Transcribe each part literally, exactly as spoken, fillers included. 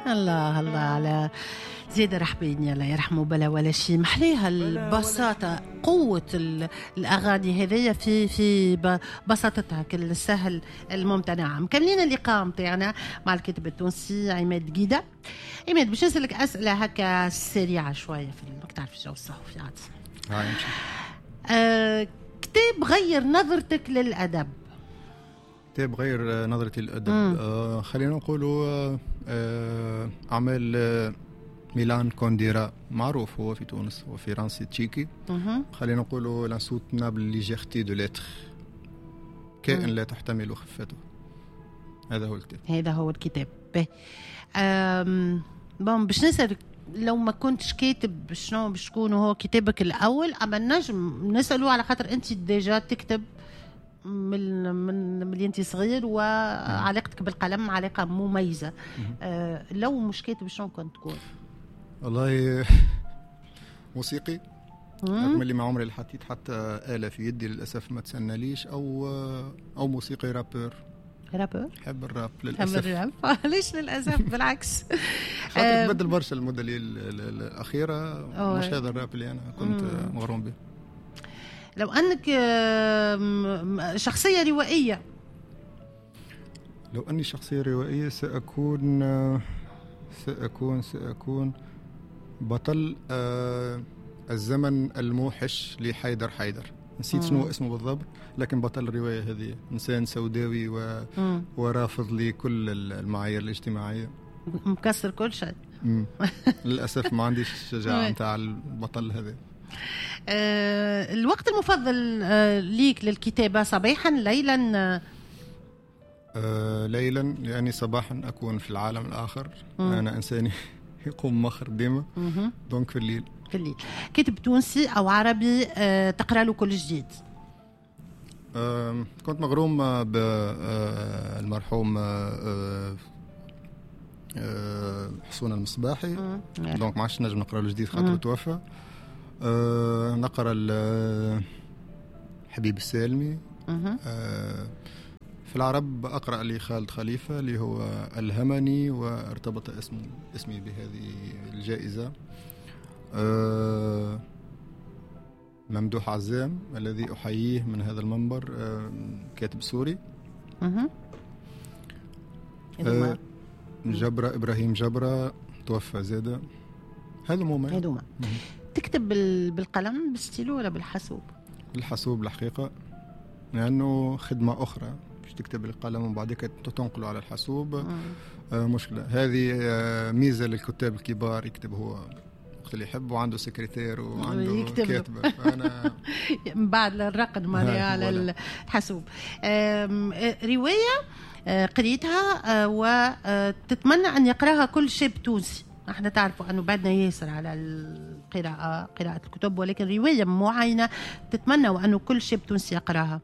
الله الله على زياد رحباني الله يرحمه، بلا ولا شيء. محليها البساطة، قوة الأغاني هذيا في في بساطتها، كل السهل الممتنع. مكملين اللقاء متاعنا مع الكاتب التونسي عماد قيدة. عماد، باش نسألك أسئلة هكا سريعة شوية في ماك تعرف الجو الصحفي عاد. آه، كتاب غير نظرتك للأدب. كتاب غير نظرتي للأدب، آه خلينا نقولوا آه أعمال آه ميلان كونديرا، معروف هو في تونس، هو فرنسي تشيكي. خلينا نقولوا l'insoutenable légèreté de l'être، كائن لا تحتمل خفته. هذا هو الكتاب. هذا هو الكتاب. باهي، bon باش نسألك لو ما كنتش كاتب شنو باش تكون هو كتابك الأول؟ أما نجم نسأله على خاطر أنت déjà تكتب من من من انت صغير، وعلاقتك بالقلم علاقة مميزة. آه لو مش كاتب شنو كنت تكون؟ والله موسيقي، رغم اللي ما عمري اللي حطيت حتى آلة في يدي للأسف ما تسناليش، أو أو موسيقي rappeur. rappeur؟ حب الراب للأسف. حب الراب. ليش للأسف؟ بالعكس، خاطر تبدل برشا المدة الأخيرة، مش هذا الراب اللي أنا كنت مغروم به. لو أنك شخصية روائية. لو أني شخصية روائية سأكون سأكون سأكون بطل الزمن الموحش لحيدر حيدر. نسيت شنو اسمه بالضبط، لكن بطل الرواية هذه إنسان سوداوي و... ورافض لكل المعايير الاجتماعية، مكسر كل شيء. للأسف ما عنديش الشجاعة نتاع البطل هذا. أه الوقت المفضل أه ليك للكتابة، صباحا ليلا؟ أه ليلا، لأني صباحا أكون في العالم الآخر. مم. أنا إنسان يقوم مخر ديما، donc في الليل. في الليل. كاتب تونسي أو عربي أه تقرأ له كل جديد؟ أه كنت مغروم بالمرحوم أه أه حسون المصباحي، donc ما عادش نجم نقرأ له جديد خاطر توفى. أه نقرأ حبيب السالمي. أه في العرب أقرأ لخالد خليفة اللي هو ألهمني وارتبط اسم اسمي بهذه الجائزة. أه ممدوح عزام الذي أحييه من هذا المنبر، أه كاتب سوري. أه جبرة إبراهيم جبرة توفى زادة. هذا هما. هذوما. تكتب بالقلم بالستيلو ولا بالحاسوب؟ بالحاسوب الحقيقة، لأنه خدمة أخرى باش تكتب بالقلم وبعدك تنقله على الحاسوب. آه مشكلة هذه. آه ميزة للكتاب الكبار، يكتب هو وقت اللي يحب وعنده سكرتير وعنده كاتبة. فأنا من بعد الرقد مالي على الحاسوب. آه رواية آه قريتها آه وتتمنى أن يقرأها كل شاب تونسي. احنا تعرفوا أنه بعدنا ياسر على القراءة، قراءة الكتب، ولكن رواية معينة تتمنى وأنه كل شاب تونسي يقرأها،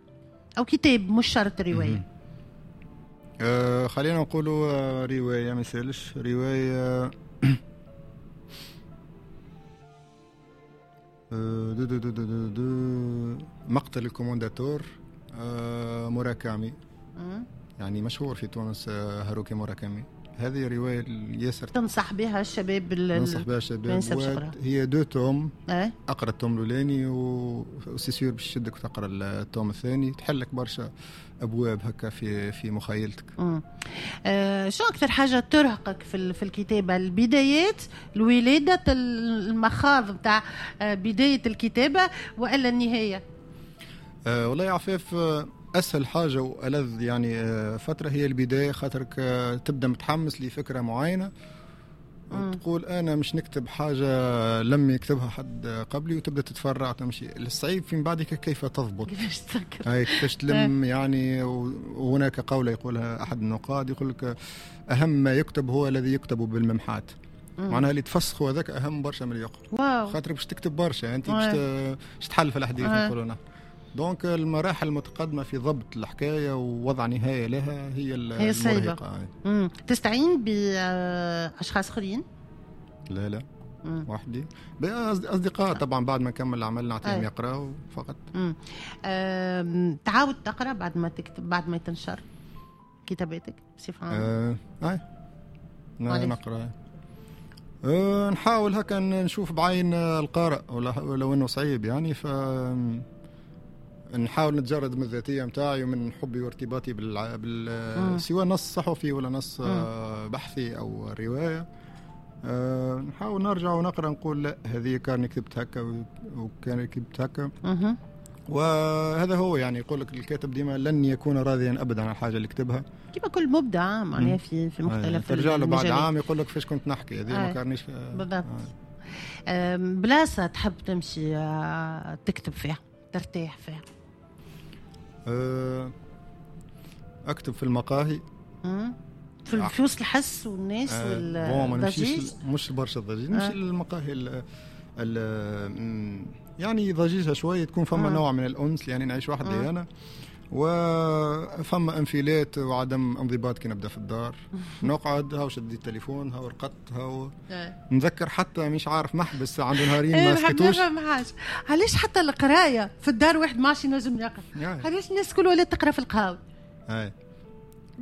أو كتاب مش شرط رواية. أه خلينا نقولوا رواية، ما يسالش رواية. دو دو دو دو دو دو مقتل الكومونداتور، أه موراكامي، يعني مشهور في تونس، هاروكي موراكامي. هذه رواية ياسر تنصح بها الشباب. ننصح بها الشباب. هي deux tomes. أه؟ أقرأ ال tome الأولاني و c'est sûr باش تشدك وتقرأ ال tome الثاني، تحلك برشا أبواب هكا في في مخيلتك. أه شو أكثر حاجة ترهقك في في الكتابة؟ البدايات، الولادة، المخاض بتاع بداية الكتابة، وإلا النهاية؟ أه والله يا عفاف، أسهل حاجة وألذ يعني فترة هي البداية، خاطرك تبدأ متحمس لفكرة معينة وتقول أنا مش نكتب حاجة لم يكتبها حد قبلي، وتبدأ تتفرع تمشي. الصعيب في بعدك كيف تضبط، كيفاش تذكر، هاي كيفاش تلم يعني. وهناك قولة يقولها أحد النقاد، يقول لك أهم ما يكتب هو الذي يكتب بالممحات. معناها اللي تفسخه هذاك أهم برشا من اللي يقرأ، خاطرك باش تكتب برشا أنت باش تحل في الحديث نقولوا. donc المراحل المتقدمة في ضبط الحكاية ووضع نهاية لها هي هي الصعيبة. تستعين بأشخاص آخرين؟ لا لا، وحدي. أصدقاء طبعا بعد ما نكمل العمل نعطيهم يقرأوا فقط. تعاود تقرأ بعد ما تكتب، بعد ما تنشر كتاباتك بصفة عامة؟ آه. نقرا أه نحاول هكا نشوف بعين القارئ، ولو انه صعيب يعني، ف نحاول نتجرد من الذاتية متاعي ومن حبي وارتباطي بال, بال... سواء نص صحفي ولا نص مم. بحثي او رواية. أه نحاول نرجع ونقرا نقول لا هذه كان كتبت هكا وكان كتبت هكا. وهذا هو يعني، يقول لك الكاتب ديما لن يكون راضيا ابدا على الحاجة اللي كتبها، كما كل مبدع معناها في في مختلف. ترجع له بعد عام يقول لك فاش كنت نحكي هذه ما كانش بالضبط. بلاصة تحب تمشي تكتب فيها ترتاح فيها؟ اكتب في المقاهي، في في وسط الحس والناس والضجيج. مش برشا الضجيج، نمشي للمقاهي ال ال يعني ضجيجها شوية، تكون فما آه. نوع من الأنس، يعني نعيش وحدي آه. أنا، وفما انفلات وعدم انضباط كي نبدا في الدار. نقعد هاو شديت التليفون، هاو رقدت، هاو نذكر حتى مش عارف محبس عنده نهارين ما سكتوش. علاش حتى القراية في الدار واحد ما عادش ينجم يقرا؟ علاش الناس كل ولات تقرا في القهاوي؟ اي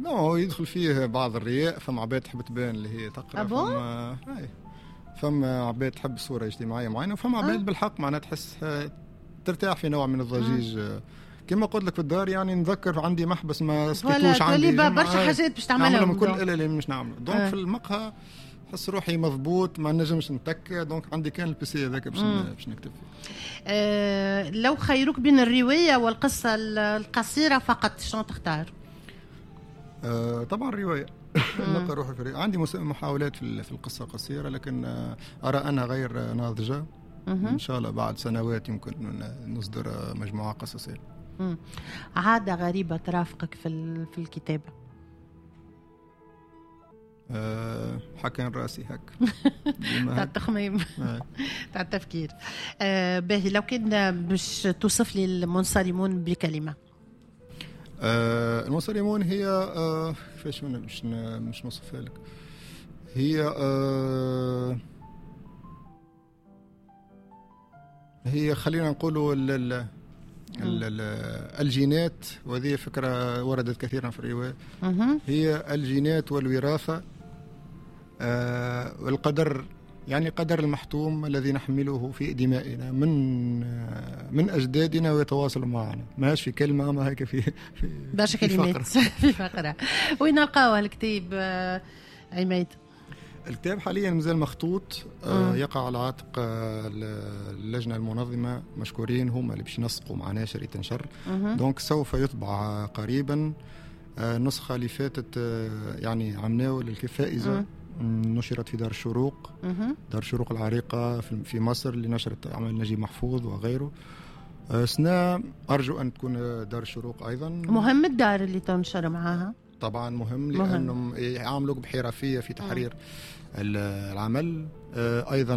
non، يدخل فيه بعض الرياء، فما عباد تحب تبان اللي هي تقرا، فما اي فما عباد تحب صورة اجتماعية معينة، وفما عباد أه؟ بالحق معناها تحس ترتاح في نوع من الضجيج. أه. كما قلت لك في الدار يعني نذكر عندي محبس ما سكتوش، عندي برشا حاجات باش تعملهم من كل اللي مش نعمله. donc أه. في المقهى حس روحي مضبوط، ما نجمش نتك، donc عندي كان ال PC هذاك باش باش نكتب فيه. أه لو خيروك بين الرواية والقصة القصيرة فقط شنو تختار؟ أه طبعا الرواية. نلقى روحي في عندي محاولات في القصة القصيرة، لكن أرى أنها غير ناضجة. إن شاء الله بعد سنوات يمكن نصدر مجموعة قصصية. عادة غريبة ترافقك في في الكتابة؟ أه حكان راسي هك تاع التخميم تاع التفكير. أه باهي، لو كان باش توصف لي المنصرمون بكلمة؟ آه المنصرمون هي آه كيفاش مش مش نوصفها لك، هي آه هي خلينا نقولوا ال ال ال الجينات، وهذه فكرة وردت كثيرا في الرواية، هي الجينات والوراثة آه والقدر، يعني قدر المحتوم الذي نحمله في دمائنا من من أجدادنا ويتواصل معنا. ماهاش في كلمة، ما هيك في في برشا كلمات في فقرة. وين نلقاوه الكتاب عماد؟ الكتاب حاليا مازال مخطوط، آه يقع على عاتق اللجنة المنظمة، مشكورين هم اللي باش ينسقوا مع ناشر يتنشر، donc سوف يطبع قريبا. آه النسخة اللي فاتت آه يعني عمناول الفائزة نشرت في دار الشروق، دار الشروق العريقة في مصر اللي نشرت أعمال نجيب محفوظ وغيره. سنة أرجو أن تكون دار الشروق أيضا. مهم الدار اللي تنشر معها؟ طبعا مهم، لأنهم يعاملوك بحرفية في تحرير العمل، أيضا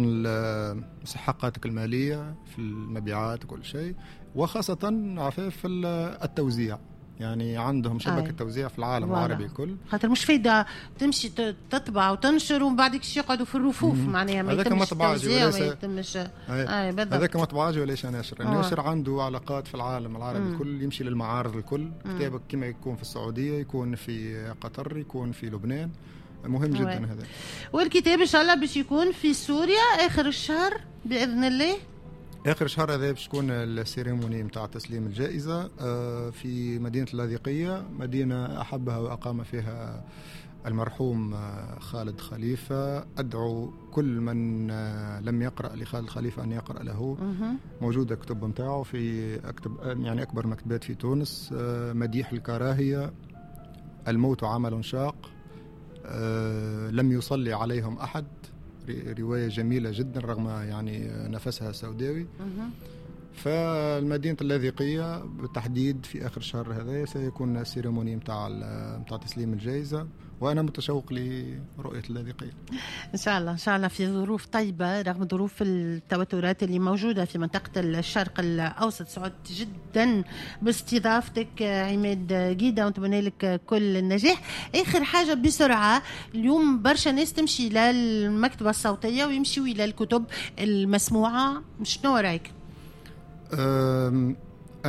مسحقاتك المالية في المبيعات وكل شيء، وخاصة عفاف التوزيع، يعني عندهم شبكة توزيع في العالم العربي الكل. خاطر مش فايدة تمشي تطبع وتنشر ومن بعد يقعدوا في الرفوف، معناها ما يتمش التوزيع وما يتمش. هذاك مطبعاجي وليس ناشر. الناشر عنده علاقات في العالم العربي الكل، يمشي للمعارض الكل، كتابك كما يكون في السعودية، يكون في قطر، يكون في لبنان. مهم جدا هذا. والكتاب إن شاء الله باش يكون في سوريا آخر الشهر بإذن الله. آخر شهر هذا باش تكون ال cérémonie متاع تسليم الجائزة في مدينة اللاذقية، مدينة أحبها وأقام فيها المرحوم خالد خليفة. أدعو كل من لم يقرأ لخالد خليفة أن يقرأ له، موجودة كتب متاعه في أكتب يعني أكبر مكتبات في تونس. مديح الكراهية، الموت عمل شاق، لم يصلي عليهم أحد، رواية جميلة جدا رغم يعني نفسها السوداوي. فالمدينة اللاذقية بالتحديد في آخر شهر هذا سيكون ال cérémonie متاع متاع تسليم الجائزة، وأنا متشوق لرؤية اللاذقية إن شاء الله. إن شاء الله في ظروف طيبة رغم ظروف التوترات اللي موجودة في منطقة الشرق الأوسط. سعدت جدا باستضافتك عماد قيدة، ونتمنى لك كل النجاح. آخر حاجة بسرعة، اليوم برشا ناس تمشي للمكتبة الصوتية ويمشيوا إلى الكتب المسموعة، شنو رأيك؟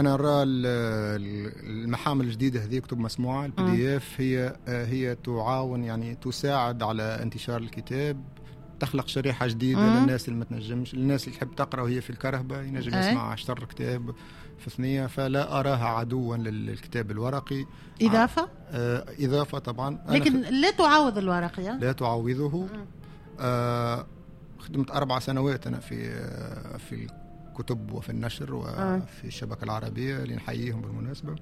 انا نرى المحامل الجديدة هذه، كتب مسموعه، ال PDF، هي هي تعاون، يعني تساعد على انتشار الكتاب، تخلق شريحة جديدة مم. للناس اللي ما تنجمش، الناس اللي تحب تقرا وهي في الكرهبه، ينجم يسمع شطر كتاب في ثنيه، فلا اراها عدوا للكتاب الورقي. اضافه. آه اضافه طبعا. لكن لا تعوض الورقي. لا تعوضه. آه خدمت اربع سنوات انا في في الكتب وفي النشر وفي الشبكة العربيه، اللي نحييهم بالمناسبه،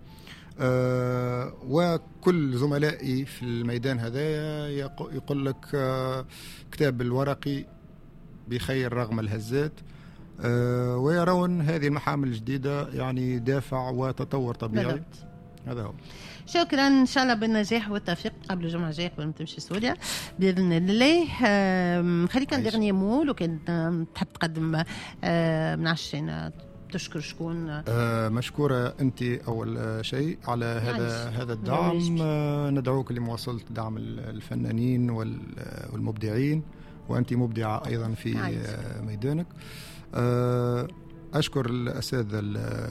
آه وكل زملائي في الميدان هذا يقول لك آه كتاب الورقي بخير رغم الهزات، آه ويرون هذه المحامل الجديدة يعني دافع وتطور طبيعي. بالضبط. هذا هو. شكرا، ان شاء الله بالنجاح والتوفيق قبل الجمعة الجاية قبل ما تمشي سوريا باذن الله. خليك un dernier mot لو كان تحب تقدم، ما نعرفش، تشكر شكون. آه مشكورة أنت أول شيء على هذا هذا الدعم. آه ندعوك لمواصلة دعم الفنانين والمبدعين، وأنت مبدعة أيضا في آه ميدانك. آه أشكر الأساتذة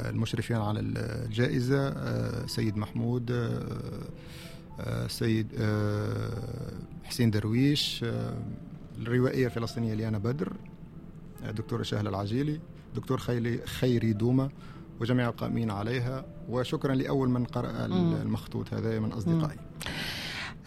المشرفين على الجائزة، آه سيد محمود، آه سيد آه حسين درويش، آه الروائية الفلسطينية ليانا بدر، دكتورة شهلة العجيلي، دكتور خيلي خيري دومة، وجميع القائمين عليها. وشكرا لأول من قرأ المخطوط هذا من أصدقائي.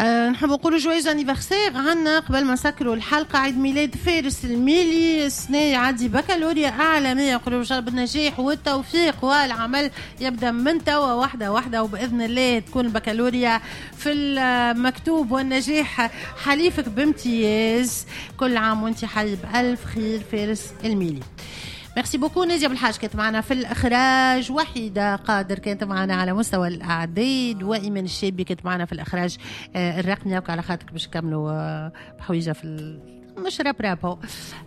أه نحب نقولوا joyeux anniversaire عنا قبل ما نسكروا الحلقة، عيد ميلاد فارس الميلي، السنة يعدي بكالوريا إعلامية. نقولوا إن شاء الله بالنجاح والتوفيق، والعمل يبدأ من توا واحدة واحدة، وبإذن الله تكون البكالوريا في المكتوب والنجاح حليفك بامتياز. كل عام وانت حي بألف خير فارس الميلي. merci beaucoup نادية بالحاج كانت معنا في الإخراج، وحيدة قادر كانت معنا على مستوى الأعداد، وإيمان الشابي كانت معنا في الإخراج الرقمي. على خاطرك باش نكملوا بحويجة في مش راب راب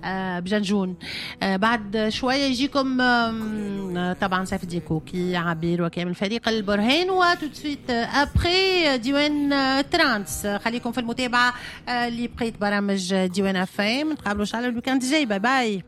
آه بجنجون. آه بعد شوية يجيكم آه طبعا سيف الدين كوكي، عبير وكامل فريق البرهان، و tout de suite après ديوان ترانس. خليكم في المتابعة آه اللي بقيت برامج ديوان اف ام. نتقابلوا ان شاء الله ال week-end الجاي. bye bye.